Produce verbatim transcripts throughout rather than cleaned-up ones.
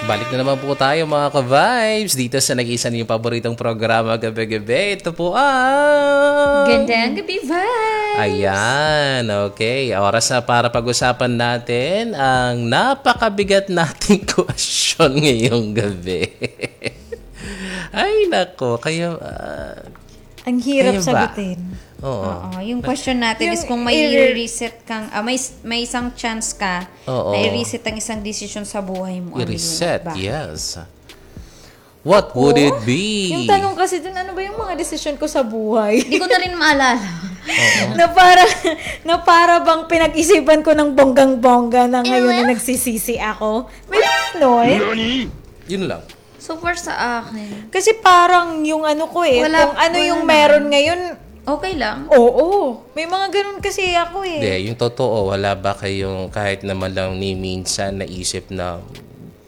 Balik na naman po tayo, mga ka-vibes, dito sa nag-iisa niyong paboritong programa, Gabi-Gabi. Ito po ang Gandang Gabi Vibes! Ayan, okay. Oras na para pag-usapan natin ang napakabigat nating question ngayong gabi. Ay, nako. Kaya, ah, Ang hirap sagutin. Oo. Oo, yung question natin is kung may i-reset kang, ah, may, may isang chance ka na i-reset ang isang desisyon sa buhay mo, ano yun? I-reset, yes. What would it be? Yung tanong kasi dun, ano ba yung mga desisyon ko sa buhay? Hindi ko na rin maalala. Na para, na para bang pinag-isipan ko ng bonggang-bongga na ngayon na nagsisisi ako. May ganon. Yun lang. So far sa akin. Kasi parang yung ano ko eh, kung ano yung meron ngayon, okay lang. Oo. May mga ganun kasi ako eh. Hindi, yung totoo, wala ba kayong kahit naman lang ni minsan naisip na,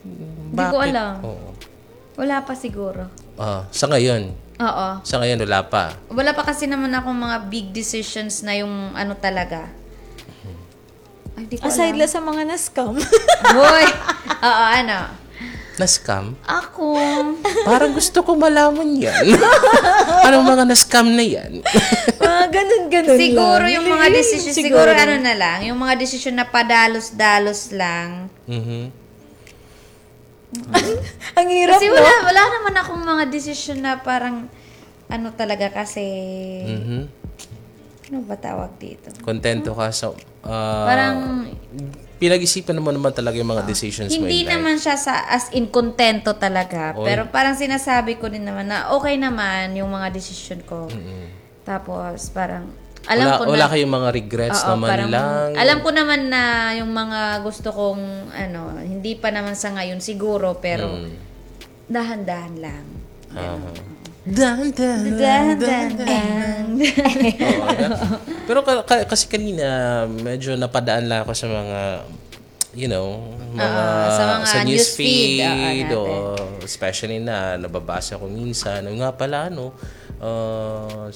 hindi ko alam. Wala pa siguro. Ah, sa ngayon? Oo. Sa ngayon, wala pa. Wala pa kasi naman akong mga big decisions na yung ano talaga. Ay, di ko alam. Aside la sa mga na-scam. Hoy! Oo, ano? Na-scam? Ako. Parang gusto ko malaman yan. Anong mga na-scam na yan? Mga ganun-ganun lang. Siguro yung mga decision, siguro ano na lang, yung mga decision na padalos-dalos lang. Mhm. Ang hirap, no? Kasi wala, wala naman akong mga desisyon na parang, ano talaga kasi, ano ba tawag dito? Kontento ka sa, ah, parang, pinag-isipan mo naman talaga yung mga decisions mo in life. Hindi naman siya sa, as in, kontento talaga. Pero parang sinasabi ko din naman na okay naman yung mga desisyon ko. Tapos, parang, alam ko na, wala kayong mga regrets naman lang. Alam ko naman na yung mga gusto kong, ano, hindi pa naman sa ngayon siguro, pero dahan-dahan lang. Ganun. Dahan-dahan, dahan-dahan. Oo, no? Pero ka-, ka-, kasi kanina, medyo napadaan lang ako sa mga, you know, mga, sa news feed, oo, especially na nababasa ko minsan. Yung nga pala, ano, ah,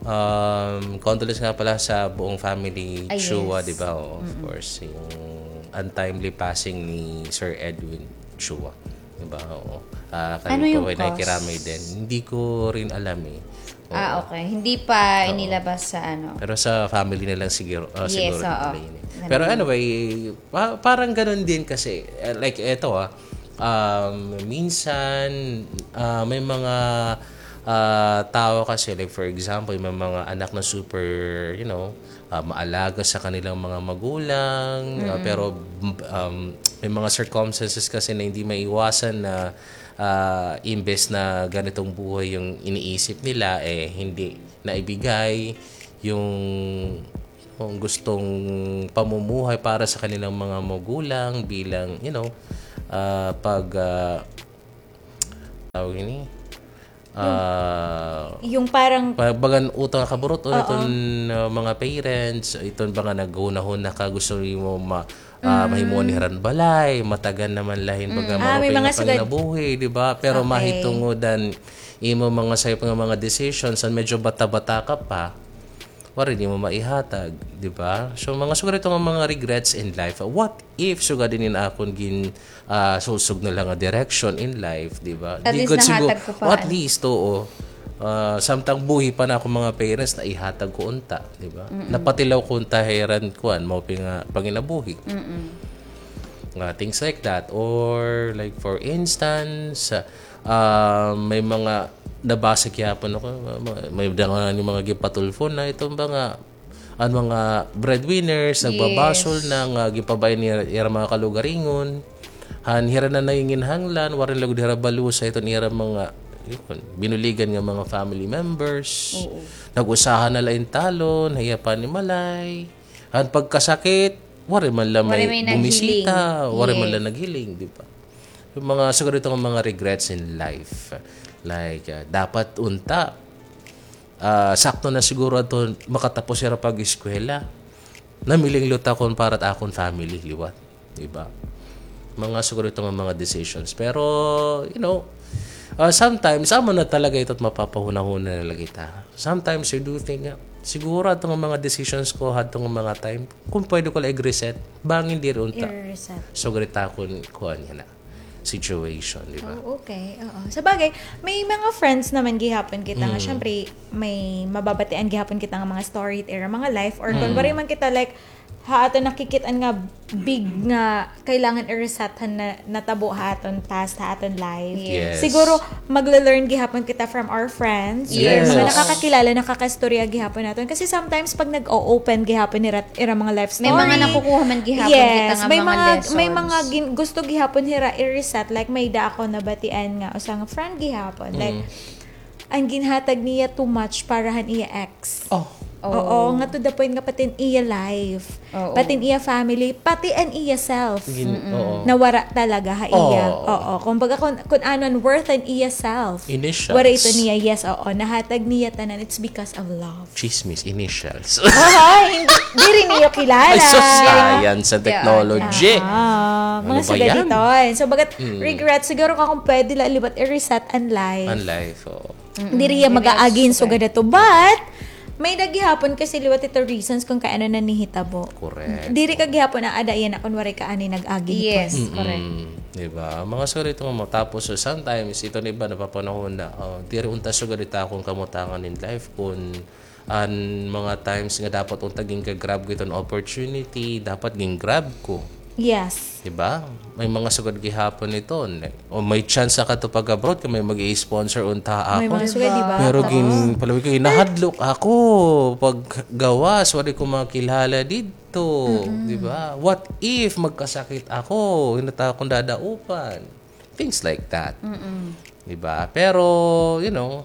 Um, condolence nga pala sa buong family Chua, di ba? Oo, of course, yung untimely passing ni Sir Edwin Chua, di ba? Oo. Ah, kami po ay nakikiramay din. Hindi ko rin alam eh. Ah, okay. Hindi pa inilabas sa ano. Pero sa family na lang siguro, ah, siguro nila yun eh. Pero anyway, pa-, parang ganun din kasi, eh, like eto ah, um, minsan, ah, may mga, ah, tao kasi, like, for example, may mga anak na super, you know, ah, maalaga sa kanilang mga magulang, ah, pero, um, may mga circumstances kasi na hindi maiwasan na, ah, imbes na ganitong buhay yung iniisip nila, eh, hindi naibigay yung, yung gustong pamumuhay para sa kanilang mga magulang bilang, you know, ah, pag, ah, tawag ini, ah, yung parang pa-, bagan utang kaburot o iton, ah, mga parents, iton baga naghunahuna ka, gusto nimo ma-, ah, mahimuon ni hiran balay, matagan naman la hin baga maupay nga panginabuhi, di ba? Pero mahitungod an imo mga sayop nga mga decisions, an medyo bata-bata ka pa, waray nimo maihatag, di ba? So, mga sugad ito nga mga regrets in life. What if sugad ini an akon gin, ah, sulsog na la nga direction in life, di ba? At least nahatag ko pa. At least, oo. Ah, samtang buhi pa an akon mga parents, naihatag ko unta, di ba? Napatilaw ko unta hiran kuan, maupay nga panginabuhi. Nga, things like that. Or, like, for instance, ah, may mga nabasa gihapon ako, may, may mga, mga gipatulfo na iton mga an mga breadwinners, nagbabasol na nga gipabay nira, ira mga kalugaringon. Han hira na nanginginahanglan, waray lugod hira balusa iton ira mga, yun, binuligan nga mga family members. Oo. Nag-usahan na la in talon, hiya panimalay. Han pagkasakit, waray man la may bumisita, waray man la naghiling, di ba? Yung mga, siguro itong mga regrets in life. Like, ah, dapat unta, ah, sakto na siguro ato makatapos hira pag-eskwela. Namiling la takon para it akon family, liwat. Di ba? Mga siguro ito nga mga decisions. Pero, you know, ah, sometimes, amo na talaga ito at mapapahunahuna na la kita. Sometimes, you do think nga, siguro ato nga mga decisions ko, hadto nga mga time, kung pwede ko la i-reset, bangin diri unta. I-reset. So, ganito akong kuha niya na. situation, di ba? Oh, okay. Oo. Sa bagay, may mga friends naman gihapon kita nga, syempre, may mababatian gihapon kita nga mga story it ira mga life, or kung waray man kita, like, ha aton nakikit-an nga big nga kailangan i-reset han na, natabo ha aton past, ha aton life. Yes. Siguro, magla-learn gihapon kita from our friends. Yes. Mga nakakakilala, nakakaistorya gihapon naton. Kasi sometimes, pag nag-o-open gihapon nira, ira mga life story. May mga nakukuha man gihapon kita nga mga lessons. Yes, may mga gin-, gusto gihapon hira i-reset. Like, may-ada ako nabatian nga usa nga friend gihapon. Like, an ginhatag niya too much para han iya ex. Oh. Oo, nga to the point nga pati an iya life, pati an iya family, pati an iya self. Nawara talaga ha iya. Oo. Kumbaga, kun, kun ano an worth an iya self. Initials. Waray ito niya, yes, oo. Nahatag niya tanan, it's because of love. Chismis, initials. Ay, hindi, diri niyo kilala. Ay, so science and technology. Ah, mga sugad iton. So, bagat regret, siguro ka kung pwede la liwat i-reset an life. An life, oo. Diri iya mag-aagi hin sugad ato. But, may-ada gihapon kasi liwat ito reasons kung kay ano nanihitabo. Correct. Diri ka gihapon aada yana kun waray ka anay nag-agi hito. Yes, correct. Di ba? Mga sugad ito nga, tapos, so, sometimes, ito na iba, napapanahon na, oh, diri unta sugad ito akon kamutangan in life kun an mga times nga dapat unta gin-grab ko iton opportunity, dapat gin-grab ko. Yes. Di ba? May mga sugad gihapon iton. O may chance ka to pag-abroad kay may mag-i-sponsor unta ako. May mga sugad, di ba? Pero gin-, palawig ko, nahadlok ako paggawas, waray ko makilala didto, di ba? What if magkasakit ako? Hin-o it akon dadaupan? Things like that. Di ba? Pero, you know,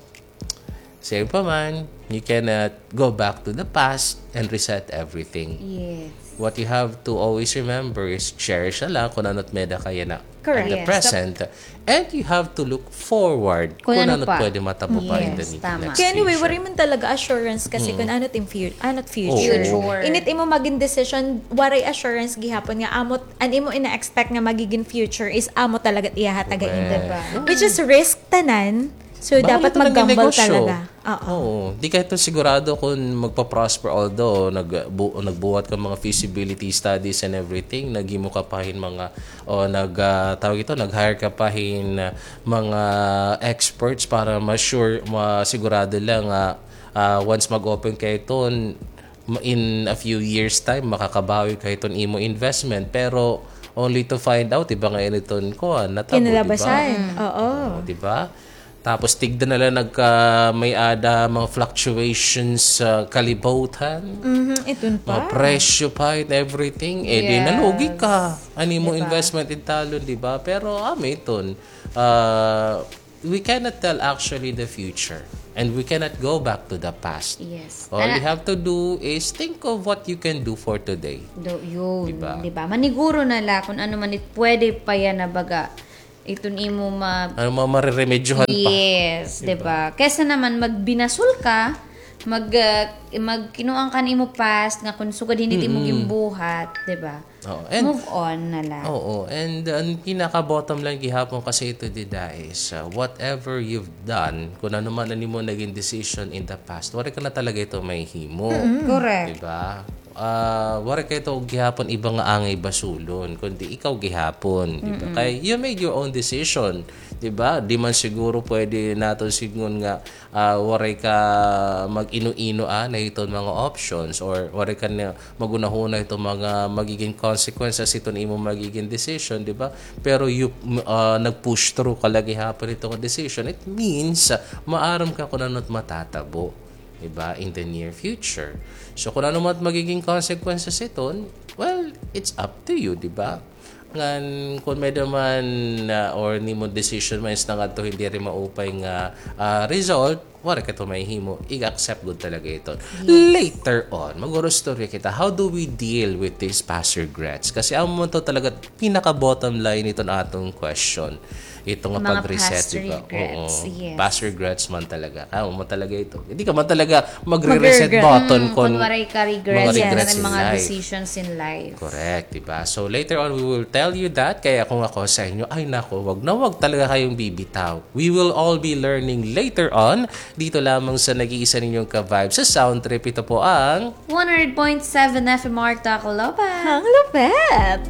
same pa man, you cannot go back to the past and reset everything. Yes. What you have to always remember is cherish na la kon ano it may-ada ka yana at the present. And you have to look forward kon ano it pwede matabo pa in the next future. Kay anyway, waray man talaga assurance kasi kon ano it im fu-, ano it future. Init imo magin decision, waray assurance gihapon nga amo it, an imo ina-expect nga magigin future is amo talaga it iyahatag ha imo. Correct. Which is risk tanan. So, dapat mag-gamble talaga. Oo. Di ka ito sigurado kung magpa-prosper, although nag-, bu-, nagbuhat ka mga feasibility studies and everything, naghimo ka pa hin mga, o nag, ah, tawag ito, nag-hire ka pa hin, ah, mga experts para ma-sure, masigurado la nga, ah, once mag-open ka ito, ma-, in a few years time, makakabawi ka hiton imo investment. Pero only to find out, iba nga ini iton kuan, natabo, di ba? Kinalabasan. Oo. Oo, di ba? Tapos tigda na la nagka-, may-ada mga fluctuations sa kalibutan. Iton pa. Mga presyo pa and everything. Eh, di nalugi ka. An imo investment italon, di ba? Pero, ah, may iton. Ah, we cannot tell actually the future, and we cannot go back to the past. Yes. All you have to do is think of what you can do for today. Yun, di ba? Maniguro na la kung ano man it pwede pa yana, baga, iton imo ma-, ano, ma-, mareremedyohan pa. Yes, di ba? Kaysa naman magbinasol ka, mag, ah, magkinuan ka han imo past nga kung sugad hin it imo ginbuhat, di ba? Oo, and move on na la. Oo, and, uh, an pinaka bottom line gihapon kasi ito dida is, uh, whatever you've done, kun ano man an imo nagin decision in the past, waray ka na talaga ito mahihimo. Correct. Di ba? Ah, waray ka ito gihapon iba nga angay basulon, kundi ikaw gihapon, di ba? Kay you made your own decision, di ba? Di man siguro pwede naton sidngon nga ah, waray ka mag-ino-ino, ah, na hiton mga options, or waray ka na maghunahuna hiton mga magigin consequences hiton imo magigin decision, di ba? Pero you, m-, ah, nag-push through ka la gihapon hiton decision. It means, ah, maaram ka kun ano it matatabo, di ba, in the near future. So, kun ano man it magigin consequences hiton, well, it's up to you, di ba? Ngan, kun may-ada man, ah, or an imo decision man is nangadto hin diri maupay nga, ah, result, waray ka ito mahihimo, i-accept gud talaga ito. Yes. Later on, mag-uurostorya kita, how do we deal with these past regrets? Kasi amo man to talaga pinaka bottom line hiton aton question. Ito nga pag-reset, di ba? Mga past regrets, yes. Oo. Past regrets man talaga. Amo man talaga ito. Hindi ka man talaga magre-reset button kun waray ka regrets in life. Yes. Mga decisions in life. Correct, di ba? So, later on, we will tell you that. Kaya kung ako sa inyo, ay nako, wag na wag talaga kayong bibitaw. We will all be learning later on, dito lamang sa nag-iisa ninyong ka-vibe sa Sound Trip. Ito po ang one hundred point seven F M R Tacloban. Ang lupit!